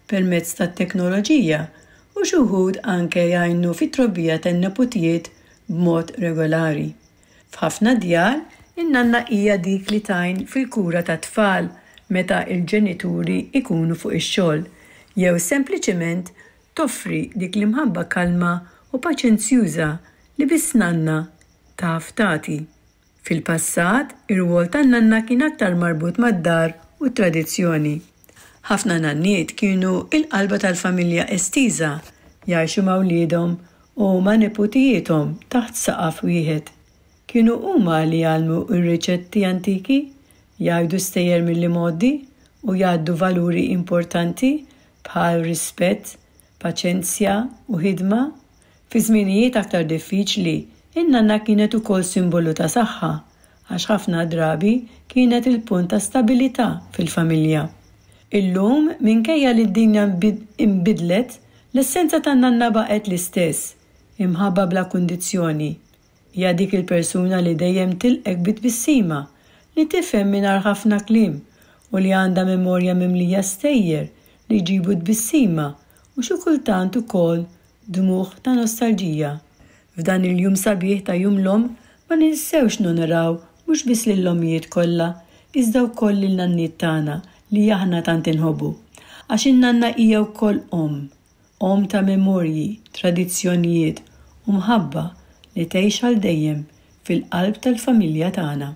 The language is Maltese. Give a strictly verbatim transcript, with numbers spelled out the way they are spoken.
Permezz tat-teknoloġija, u xi wħud anke jgħinu fit-trobbija tan-neputijiet b'mod regolari. F'ħafna djar, in-nanna hija dik li tgħin fil-kura tat-tfal meta l-ġenituri ikunu fuq ix-xogħol, jew sempliċement toffri dik l-imħabba kalma u paċenzjuża li biss nanna taf tagħti. Fil-passat, ir-rwol tan-nanna kien aktar marbut mad-dar u t-tradizzjoni. Ħafna nanniet kienu il-qalba tal-familja estiża, jgħixu ma' wliedhom u ma' neputijiethom taħt saqaf wieħed. Kienu huma li jgħallmu r-riċetti antiki, jgħidu stejjer mill-imgħoddi u jgħaddu valuri importanti bħal rispett, paċenzja u ħidma. Fi żminijiet aktar diffiċli, in-nanna kienet ukoll simbolu ta' saħħa, għax ħafna drabi kienet il-punt ta' stabilità fil-familja. Illum, minkejja li d-dinja imbidlet, l-essenza tan-nanna baqgħet l-istess, imħabba bla kundizzjoni. Hija dik il-persuna li dejjem tilqgħek bi tbissima, li tifhem mingħajr ħafna kliem u li għandha memorja mimlija stejjer li jġibu tbissima u xi kultant ukoll dmugħ ta' nostalġija. F'dan il-jum sabiħ ta' Jum l-Omm, ma ninsewx nonoraw mhux biss lill-ommijiet kollha, iżda wkoll lin-nanniet tagħna li aħna tant inħobbu. Għax in-nanna hija wkoll omm, omm ta' memorji, tradizzjonijiet u mħabba li tgħix għal dejjem fil-qalb tal-familja tagħna.